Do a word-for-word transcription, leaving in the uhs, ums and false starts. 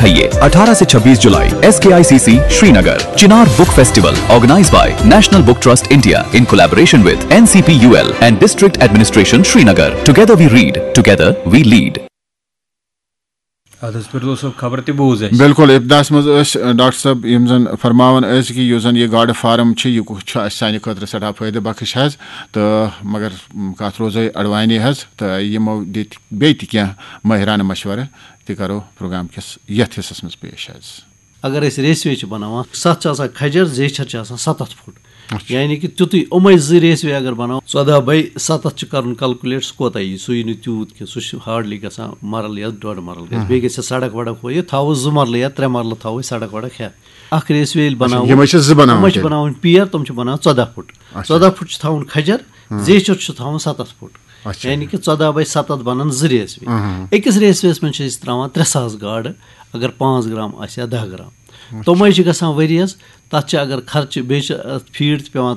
है ये अठारह से छब्बीस जुलाई, S K I C C Srinagar, Chinar book festival, organized by National Book Trust India in collaboration with N C P U L and District Administration Srinagar. Together we read, together we lead. اَدٕ حظ، فردوس صٲب، خبر تہِ بوٗز اَسہِ۔ بِلکُل، ابتداہس منٛز ٲسۍ ڈاکٹر صٲب یِم زَن فرماوان ٲسۍ کہِ یُس زَن یہِ گاڈٕ فارم چھِ، یہِ کُس چھُ اَسہِ سانہِ خٲطرٕ سٮ۪ٹھاہ فٲیدٕ بخش حظ۔ تہٕ مگر م، کَتھ روزے اَڑوانی حظ، تہٕ یِمو دِتۍ بیٚیہِ تہِ کینٛہہ مٲہرانہٕ مشورٕ، تہِ کَرو پروگرام کِس یَتھ حصس منٛز پیش حظ۔ اگر أسۍ ریسوے چھِ بناوان، ستھ چھِ آسان کھجر، زیچھر چھِ آسان ستتھ فُٹ۔ یعنی کہِ تیُتُے یِمے زٕ ریسوے اگر بناوو، ژۄداہ بے ستتھ چھِ کرُن کیلکولیٹ، سُہ کوتاہ یی؟ سُہ یی نہٕ تیوٗت کینٛہہ، سُہ چھُ ہارڈلی گژھان مرل یا ڈۄڈ مرل گژھِ۔ بیٚیہِ گژھِ سڑک وڑک ہُہ یہِ تھاوو، زٕ مرلہٕ یا ترٛےٚ مرلہٕ تھاوو أسۍ سڑک وڑک ہٮ۪تھ۔ اکھ ریسوے ییٚلہِ بناوو، یِمے چھِ زٕ بناوٕنۍ یِمے چھِ تیٚلہِ؟ بناوٕنۍ پیر، تِم چھِ بناوان ژۄداہ فُٹ۔ ژۄداہ فُٹ چھِ تھاوُن کھجر، زیچھر چھُ تھاوُن ستتھ فُٹ۔ اچھا۔ یعنی کہِ ژۄداہ بے ستتھ بنن زٕ ریسوے۔ أکِس ریسویس منٛز چھِ أسۍ تراوان ترٛےٚ ساس گاڈٕ، اگر پانٛژھ گرام آسہِ یا دَہ گرام۔ تِمے چھِ گژھان ؤریَس، تَتھ چھِ اگر خرچہٕ، بیٚیہِ چھِ اَتھ فیٖڈ تہِ پٮ۪وان